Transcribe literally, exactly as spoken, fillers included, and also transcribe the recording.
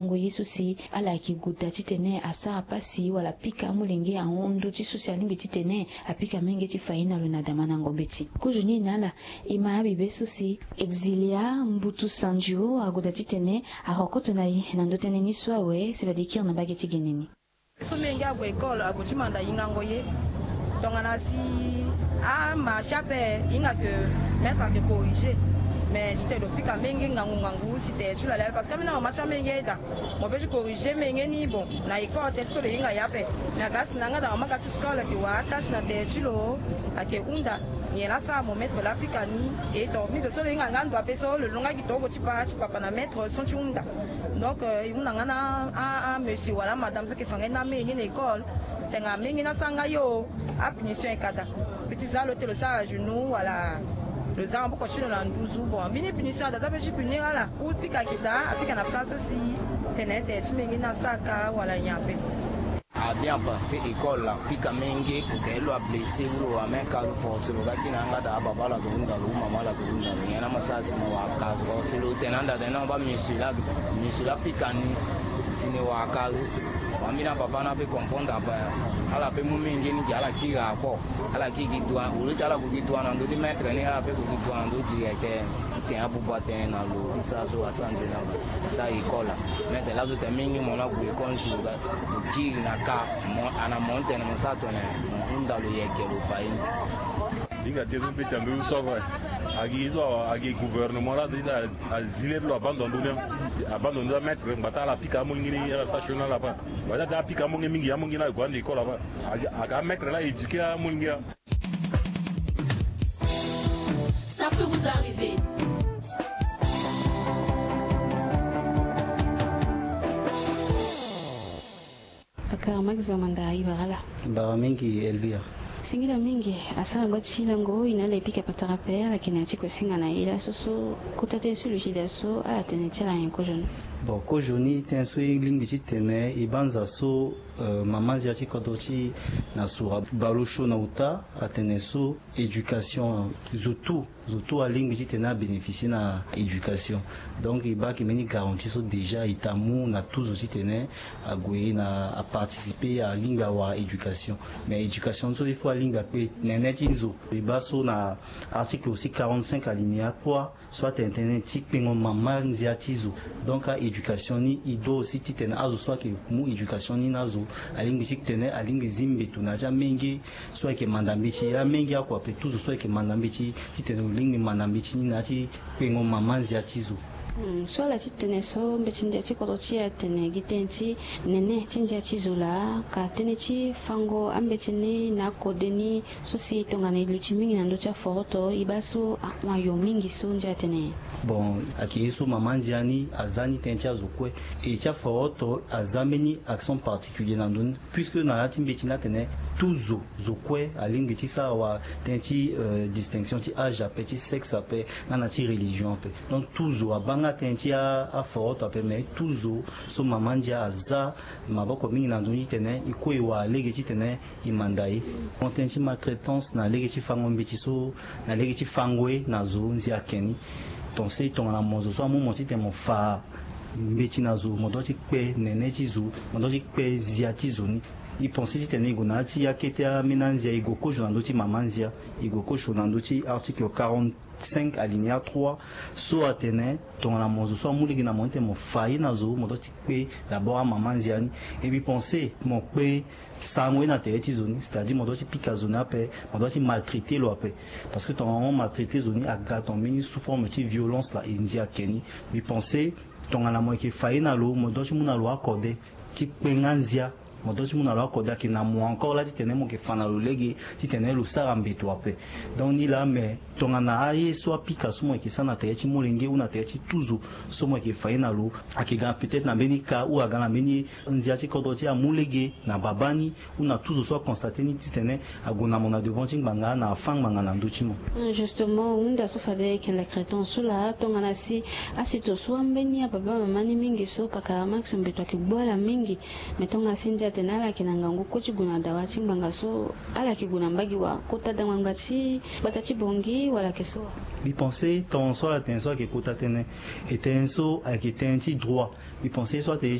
Ngongo ye so si ala yeke goda titene asara pasi wala apika amolenge ahon ndö ti so si alingbi titene apika menge ti fa ye na lo na damandango mbeti. Kozoni na ala, e ma abibe so si Exilia Mbutu Sandio agoda titene ahokoto na e na ndö tënë ni so awe si fade e kiri na mbage ti gene ni. So menge ague école, ague ti manda hingango ye. Tongana si ama si ape hinga ke maître ake corriger. Mais ti tene lo pika menge ngangu ngangu si tere ti lo ale ape, parce que ambeni amama ti amenge daa mo peut ti corriger menge ni, bon, na école tene ti so lo hinga ye ape. Mais aga si na yanga daa mama ga ti scole ake wara atâche na tere ti lo, ake hunda nyen laa asara mo maître laa apika ni. Et donc mi zo so lo hinga nga ndo ape so lo lon nga gi torobo ti pa ti papa na maître so ti hunda. Donc, euh, e hunda nga na a, a monsieur wala amadame so ake fa nga ye ni amenge na école. Tene amenge ni asara nga yo, apunition e ka daa. Pe ti za lo ti tene lo sara genou wala lo za maboko ti lo na nduzu. Bon, ambeni punition ada za pe ti punir ala. Ou pika ake daa, apika na place so si tene tere ti menge ni asara ka wala nyen ape. A bien parti école la, pika menge, ou ke lo ablessé, ou lo amen ka lo forcé lo ga ti na yanga daa, ababa lo ake hunda lo, ou mama lo ake hunda lo, nyen na mo sara si mo wara ka, forcé lo tene anda tene na mo baa monsieur la, monsieur la pika ni, si ni wara ka lo. Ambeni ababa ni ape comprendre ape, ala pe mu menge ni gi ala kiri ako, ala kiri gi droit, au lieu ti ala gue gi droit na ndö ti maître ni, ala pe gue gi droit na ndö ti directeur. Ti tene abuba tënë na lo ti sara so asara nzoni na lo, asara école la. Maître laso tene mingi mo na gue école nzoni lo ga, lo kiri na ka, mo ana mo tene mo sara tene mo hunda lo yeke lo fa ye ni. Hinga ti ye so mbeti na ndö so ava. Agi ye so agi gouvernement la ti da azi le ti lo abando na ndö ni. Abando na ndö ti amaître ngba ti ala apika amolenge ni ala sara sioni na ala ape. Ngba ti ala apika amolenge mingi, amolenge ni ague ande école ape. Agi, aga amaître la éduquer amolenge a. Ça peut vous arriver. Pakara Max Bamanda, e bara ala. Bara mingi Elvire. Singila mingi, asara gba ti lango, e na ala e pika patara ape, ala yeke na ya ti kue singa na e laso so, kota tënë so lo ti da so, ala tene ti ala nyen kozoni? Bon, kozoni tënë so e lingbi ti tene, e banza so, euh, mama nzia ti kodro ti Nassau abale osio na uta, atene so éducation, zo tout, zo tout alingbi ti tene abénéficier na éducation. Donc e baa ayeke mbeni garantie so déjà e ta mu na tout zo ti tene ague na aparticiper, alingbi awara éducation. Mais éducation so il faut alingbi akpe nene ti zo. E baa so na article aussi quarante-cinq alinéa trois, so atene tënë ti kpengo mama nzia ti zo. Donc a-éducation ni e doit aussi ti tene azo so ayeke mu éducation ni na azo, alingbi ti tene alingbi zi mbeto na ya ti amenge so ayeke manda mbeti, amenge akua ape, tout zo so ayeke manda mbeti, ti tene lo lingbi manda mbeti ni na ya ti kpengo mama nzia ti zo. Hmm, so ala ti tene so mbeti ndia ti kodro ti e atene gi tënë ti nene ti ndia ti zo laa, ka tënë ti fango ambeti ni na akode ni, so si tongana e luti mingi na ndö ti aforoto, e baa so ahon ayo mingi so ndia atene. Bon, ayeke ye so mama ndia ni aza ni tënë ti azo kue. E ti aforoto aza mbeni accent particulier na ndö ni, puisque na ya ti mbeti ni atene tout zo, zo kue alingbi ti sara wa tënë ti, euh, distinction ti âge ape, ti sexe ape, nga na ti religion ape. Donc tout zo abaa nga tënë ti a, aforoto ape, mais tout zo so mama ndia aza maboko mingi na ndö ni ti tene e kue e wara lege ti tene e manda ye. Mo tënë ti maltraitance na lege ti fango mbeti so, na lege ti fango ye na zo nzia ake ni. Pensé tongana mo zo so amu mo ti tene mo fa mbeti na zo, mo doit ti kpe nene ti zo, mo doit ti kpe nzia ti zo ni. E pensé ti tene e gue na ya ti akete ambeni anzia, e gue kozo na ndö ti mama nzia, e gue kozo na ndö ti article quarante-cinq alinéa trois, so atene tongana mo zo so amu lege na mo ti tene mo fa ye na zo, mo doit ti kpe d'abord amama nzia ni. E mbi pensé mo kpe sango ye na tere ti zo ni, c'est-à-dire mo doit ti pika zo ni ape, mo doit ti maltraiter lo ape. Parce que tongana mo maltraiter zo ni, aga tongana mbeni sous forme ti violence laa, e nzia ake ni. Mbi pensé tongana mo yeke fa ye na lo, mo doit ti mu na lo akode ti kpe nga nzia. Mo doit ti mu na lo akode ayeke na mo encore laa ti tene mo yeke fa na lo lege ti tene lo sara mbeto ape. Donc ni laa, mais tongana aye so apika so mo yeke sara na tere ti molenge ou na tere ti tout zo so mo yeke fa ye na lo, ayeke ga peut-être na mbeni ka ou aga na mbeni nzia ti kodro ti amu lege na babâ ni ou na tout zo so aconstater ni ti tene ague na mo na devant ti ngbanga na afâ ngbanga na ndö ti mo. Hmm, justement, hunda so fade ayeke lekreton so laa, tongana si asito so ambeni ababâ mama ni mingi so pakara Max mbeto ayeke gbu ala mingi. Mais tongana si ndia Atene ala yeke na ngangu kue ti gue na dawa ti ngbanga so, ala yeke gue na mbage wa kota dangbanga ti gbata ti Bangui wala ayeke so wa? Mbi pense ton so ala tene so ayeke kota tënë. E tënë so ayeke tënë ti droit. Mbi pense so atene